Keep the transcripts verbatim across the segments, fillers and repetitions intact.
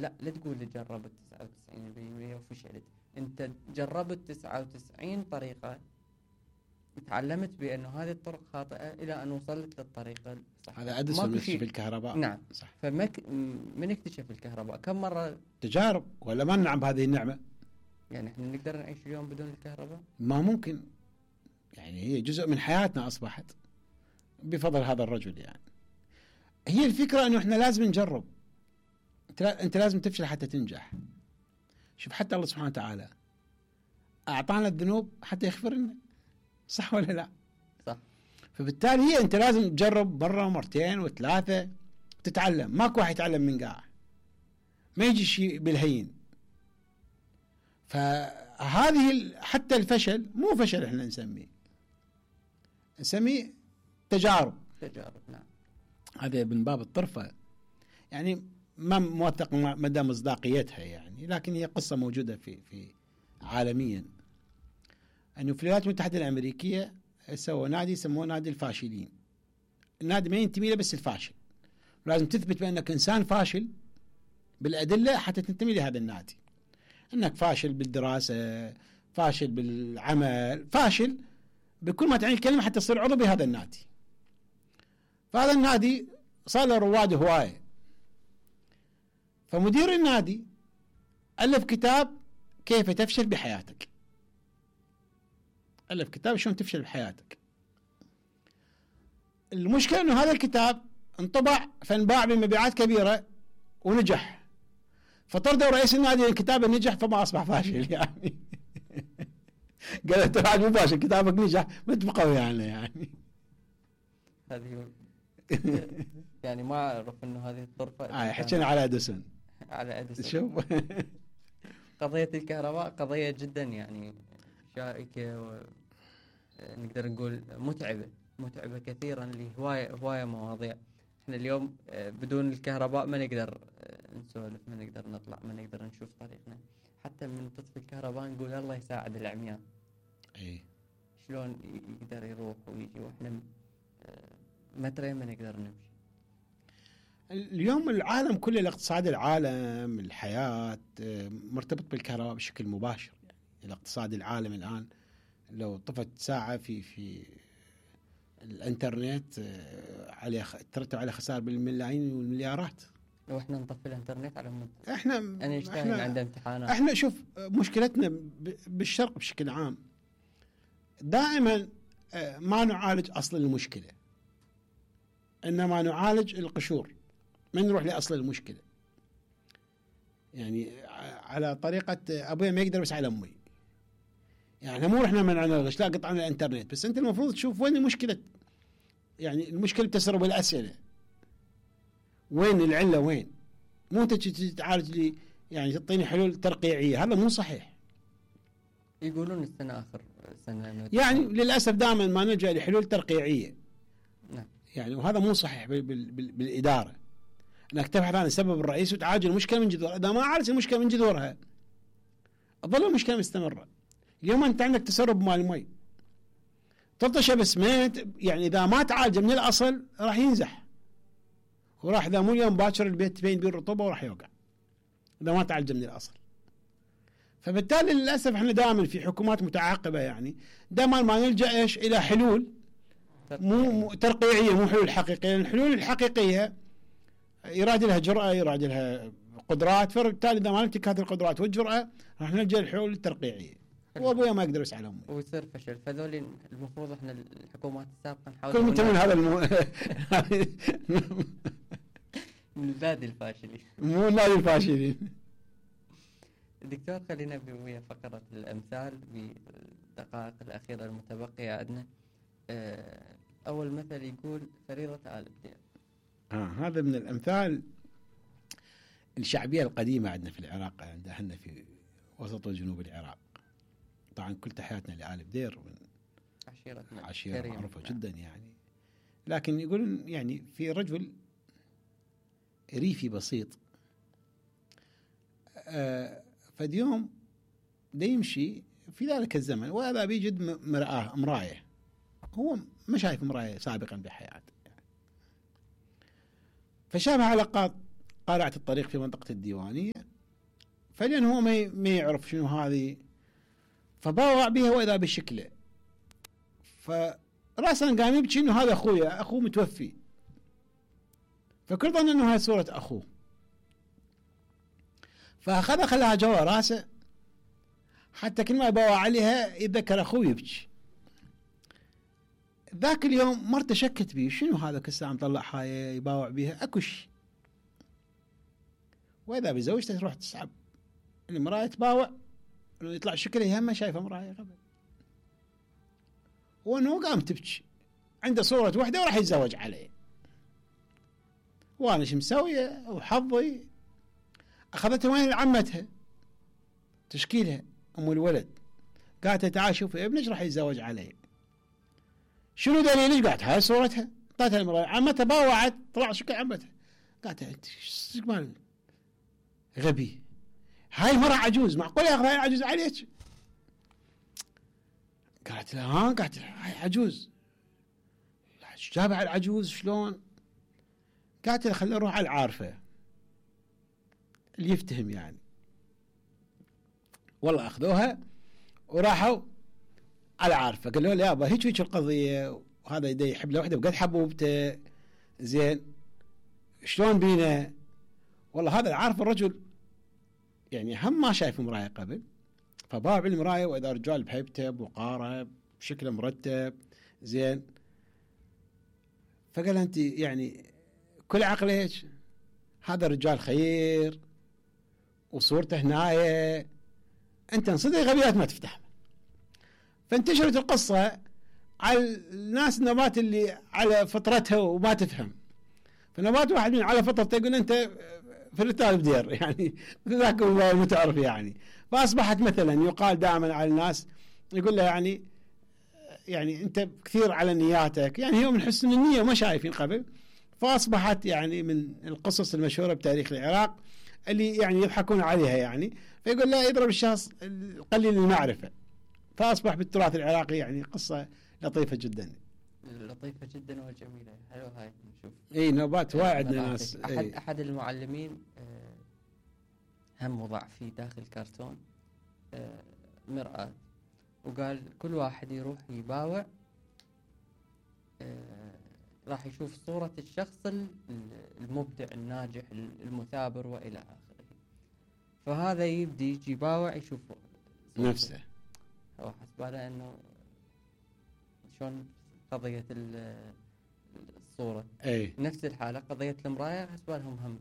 لا لا تقول جربت تسعة وتسعين بالمئة وفشلت. انت جربت تسعة وتسعين طريقة، تعلمت بأنه هذه الطرق خاطئة إلى أن وصلت للطريقة الصح. هذا أديسون في الكهرباء. نعم صح. فمك من اكتشف الكهرباء؟ كم مرة تجارب، ولا ما ننعم بهذه النعمة؟ يعني احنا نقدر نعيش اليوم بدون الكهرباء؟ ما ممكن، يعني هي جزء من حياتنا أصبحت بفضل هذا الرجل. يعني هي الفكرة أنه احنا لازم نجرب، انت لازم تفشل حتى تنجح. شوف حتى الله سبحانه وتعالى أعطانا الذنوب حتى يغفر لنا، صح ولا لا؟ صح. فبالتالي هي انت لازم تجرب مرة ومرتين وثلاثة تتعلم. ماكو واحد يتعلم من قاع، ما يجي شيء بالهين. فهذه حتى الفشل مو فشل، احنا نسميه نسميه تجارب. تجارب نعم. هذا من باب الطرفة، يعني ما موثق مدى مصداقيتها يعني، لكن هي قصة موجودة في في عالميا. انه في الولايات المتحدة الأمريكية سووا نادي يسموه نادي الفاشلين. النادي ما ينتمي له بس الفاشل، لازم تثبت بأنك إنسان فاشل بالأدلة حتى تنتمي لهذا النادي. أنك فاشل بالدراسة، فاشل بالعمل، فاشل بكل ما تعني الكلمة حتى تصير عضو بهذا النادي. فهذا النادي صار له رواد هواية. فمدير النادي ألف كتاب كيف تفشل بحياتك. ألف كتاب شلون تفشل بحياتك. المشكلة أنه هذا الكتاب انطبع فانباع بمبيعات كبيرة ونجح، فطردوا رئيس النادي الكتاب نجح فما أصبح فاشل يعني. قال ترى مو فاشل، كتابك نجح ما تبقوا يعني يعني هذه يعني ما أعرف إنه هذه الطرفة. آه حكينا على أديسون. على أديسون. شوف قضية الكهرباء قضية جدا يعني شائكة، ونقدر نقول متعبة متعبة كثيرا لهواية هواية مواضيع. احنا اليوم بدون الكهرباء ما نقدر نسولف، ما نقدر نطلع، ما نقدر نشوف طريقنا. حتى من تطفي الكهرباء نقول الله يساعد العميان. اي شلون يقدر يروح ويجي واحنا مترين ما نقدر نمشي. اليوم العالم كله، الاقتصاد العالم، الحياة مرتبط بالكهرباء بشكل مباشر. يعني الاقتصاد العالم الآن لو طفت ساعة في في الانترنت عليه ترتب على خسائر بالملايين والمليارات. لو احنا نطفي الانترنت على مد... احنا انا اشتغل عند امتحانات. احنا شوف مشكلتنا بالشرق بشكل عام دائما ما نعالج اصل المشكلة، انما نعالج القشور، ما نروح لاصل المشكلة. يعني على طريقة ابويا ما يقدر بس على امي. يعني مو رحنا منعنا الغش، لا قطعنا الانترنت، بس انت المفروض تشوف وين المشكلة. يعني المشكلة بتسرب الأسئلة، وين العلة وين، مو انت تعالج لي يعني تعطيني حلول ترقيعية. هذا مو صحيح. يقولون السنة آخر سنة يعني للأسف دائما ما نلجأ لحلول ترقيعية. نعم. يعني وهذا مو صحيح بال بال بال بالإدارة، انك تبحث عن السبب الرئيسي وتعالج المشكلة من جذورها. اذا ما عالج المشكلة من جذورها تظل المشكلة مستمرة. اليوم انت عندك تسرب مال المي، تلطشه باسمنت، يعني اذا ما تعالجه من الاصل راح ينزح، وراح اذا مو يوم باكر البيت تبين بيه الرطوبه وراح يوقع اذا ما تعالجه من الاصل. فبالتالي للاسف احنا دائما في حكومات متعاقبه، يعني دائما ما نلجا ايش الى حلول مو ترقيعيه، مو حلول حقيقيه. الحلول الحقيقيه يراد لها جرأة، يراد لها قدرات، فبالتالي اذا ما نمتلك هذه القدرات والجرأة راح نلجا للحلول الترقيعيه. وابويا ما يقدر يسعى لهم ويصير فشل. فذول المفروض احنا الحكومات السابقه نحاول كل من هذا المو... من النادي الفاشلين، مو النادي الفاشلين. دكتور خلينا بويا فقرة الأمثال بالدقائق الأخيرة المتبقية عندنا. أول مثل يقول فريضة آل بدير. آه هذا من الأمثال الشعبية القديمة عندنا في العراق، عند أهلنا في وسط وجنوب العراق. طبعا كل تحياتنا لآل بدير، عشيرتنا عشيرة معروفة جدا يعني. لكن يقولون يعني في رجل ريفي بسيط آه فاليوم دا يمشي في ذلك الزمن، وهذا بيجد مرآة مراية، هو ما شايف مراية سابقا بحياته يعني. فشافها على قاط قارعة الطريق في منطقة الديوانية، فلان هو ما ما يعرف شنو هذه، فباوع بها واذا بشكله، فراسا قام يبكي انه هذا اخويا، اخوه متوفي، فكل ظن انه هاي صورة اخوه، فاخذها خلاها جوا راسه حتى كل ما يباوع عليها يتذكر اخوه يبكي. ذاك اليوم مرته شكت بيه، شنو هذا كل ساعة مطلع هاي يباوع بيها، اكو شيء. واذا بزوجته تروح تسحب المراية تباوع، يطلع شكله يهمه شايفه مراية قبل، وانه قام تبكي عنده صورة وحدة وراح يتزوج عليه، وانا شو مسويه وحظي. اخذتها وين لعمتها تشكيلها ام الولد، قالت تعال شوفي ابنك راح يتزوج عليه، شنو دليلك؟ قالت هاي صورتها، اعطتها المراية، عمتها باوعت طلع شكل عمتها، قالت انت ايش مال غبي، هاي مرة عجوز، معقول ياخذ هاي العجوز عليك؟ قالت لها ها، قالت لها هاي عجوز، جابها على العجوز شلون؟ قالت لها خلينا نروح على العارفة اللي يفتهم يعني. والله اخذوها وراحوا على العارفة، قالوا له يابا هيك هيك القضية، وهذا يدي يحب له وحده وقد حبوبته، زين شلون بينا؟ والله هذا العارف الرجل يعني هم ما شايف مراية قبل، فباع بالمراية واذا رجال بهيبته بوقاره بشكل مرتب زين، فقال انت يعني كل عقلك هذا الرجال خير وصورته هنايا، انت انصدق غبيات ما تفتح. فانتشرت القصة على الناس النبات اللي على فطرتها وما تفهم، فنبات واحد من على فطرته يقول انت في الرتال بدير يعني ذاك هو المتعرف يعني، فاصبحت مثلا يقال دائما على الناس يقول له يعني يعني انت كثير على نياتك، يعني هو من حسن النية وما شايفين قبل، فاصبحت يعني من القصص المشهورة بتاريخ العراق اللي يعني يضحكون عليها يعني، فيقول لا يضرب الشخص قليل المعرفة، فاصبح بالتراث العراقي يعني قصة لطيفة جدا، لطيفة جدا وجميلة. حلو هاي نشوف اي نوبات وايد ناس. احد اي. احد المعلمين هم وضع في داخل كرتون مرآة، وقال كل واحد يروح يباوع راح يشوف صورة الشخص المبدع الناجح المثابر والى اخره، فهذا يبدي يجي يباوع يشوف نفسه، هو حسباله انه شلون قضية الصورة. اي نفس الحالة قضية المراية حسبالهم هم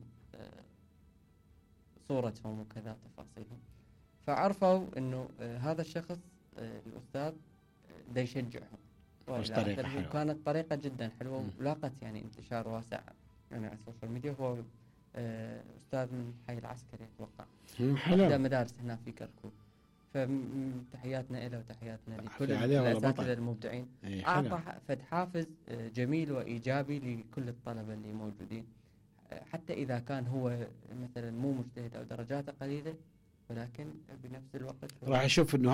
صورتهم وكذا تفاصيلهم، فعرفوا انه هذا الشخص الاستاذ دا يشجعهم، وكانت طريقة جدا حلوة ولاقت يعني انتشار واسع يعني على السوشيال ميديا. هو استاذ من حي العسكري اتوقع، حلو مدارس هنا في كركوك، فتحياتنا له وتحياتنا لكل الأساتذة الأساتذة المبدعين. أعطى فد حافز جميل وإيجابي لكل الطلبة اللي موجودين، حتى إذا كان هو مثلا مو مجتهد أو درجاته قليلة، ولكن بنفس الوقت راح يشوف إنه